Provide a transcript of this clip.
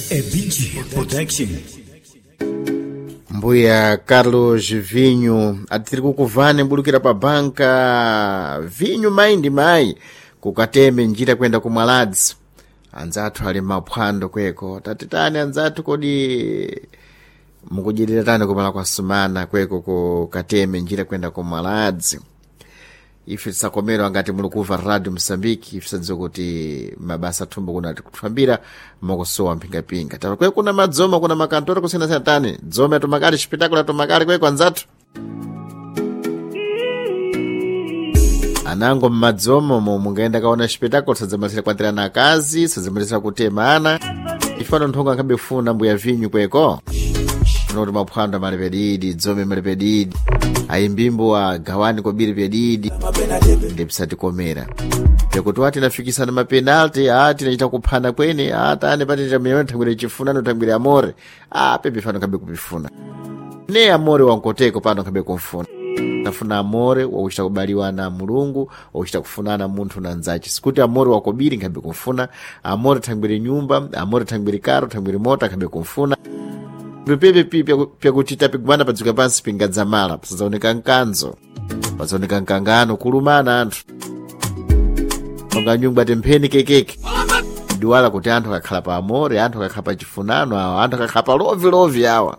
É BG Production. Mbuya Carlos Vinho atiri kukuvani mbulukira pa banka vinyu mayi ndi mayi kukateme njira kwenda kumwaladzi. Anzathu ali maphwando kweko, tatitani anzathu, kodi mukudyerera tani kumala kwa sumana kweko kukateme njira kwenda kumwaladzi? Ife tisakomerwa ngati muli kuva Radio Msambiki, ife tisadziwa kuti mabasa thumbo kuna tikutfambira mukusowa mphingapinga. Tapa kweko kuna madzoma, kuna makantora kusiyanasiyana, tani dzome atumakali chipitakula atumakali kweko anzathu anango mmadzomo mo mungaenda kaona chipitakula, sadzamalisira kwatirana akazi, sadzamalisira kutemana ifano nthongo ankhabe funa mbuya vinyu kweko unoti maphwando amalepedidi, dzome malepedidi, ayimbimbo agawani kobiri pedidi, ndipsatikomera pekuti wati nafikisana mapenalti, a tinachita kuphana kwene, a tani patita miyona thangwire chifunano thangwire amore, a pepe fano khabe kupifuna ne amore wankoteko pano khabe kumfuna. Tafuna amore wakuchita kubaliwa na Mulungu, wakuchita kufunana munthu na nzache, sikuti amore wakobiri nkhabe kumfuna amore thangwire nyumba, amore thangwire karo, thangwire mota nkhabe kumfuna pepe pyakuti tapigwana padzuka pansi pingadzamala pasadzaoneka mkanzo, pasadzaoneka mkangano, kulumana anthu monga nyumba tempheni kekeke duwala kuti anthu akakhala pa amore, anthu akakhala pa chifunano awa, anthu akakhala pa lovilovi awa.